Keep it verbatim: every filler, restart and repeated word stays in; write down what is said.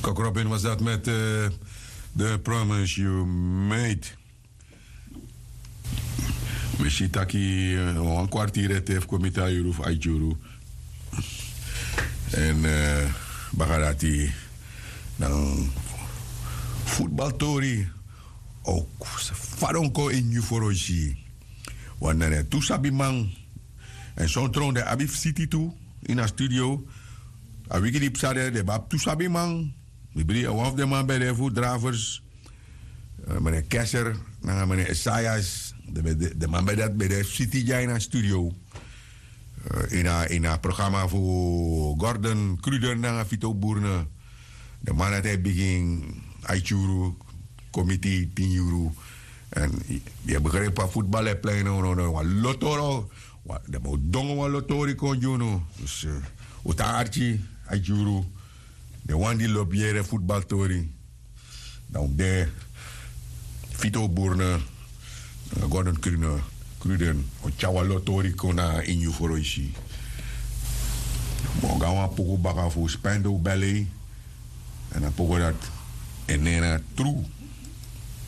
Kok Robin was dat met eh, de Promise You Made. Mi si taki eh, wan kwartier ete fu kon miti a yuru fu aiti yuru. Èn eh, baka dati dan futbaltori o fadon kon ini yu foroisi. Wan na den tu sabiman. Èn son tron den abi fu siti tu ini a studio. A wiki di psa de den ben abi tu sabiman. Mi bri wan fu den man ben de fu dravers, mene keser nanga mene esaias. Den man ben dati ben de fu siti dya ini a studio. Ini a programa fu gordon kruden nanga fito burne. Den man dati e bigin aiti yuru, komiti tin yuru. Èn yu e begripi fa futbal e plei no no no wan lotori. Den man o dongo wan lotori kon gi unu. Dus un tan arki aiti yuru. Den wan di lobi yere futbaltori, dan un de fito burne nanga gordon kruden o tyari wan lotori kon na ini yu foroisi. Ma un go na wan puku baka fu spende un bele. Èn a puku dati e nen na tru.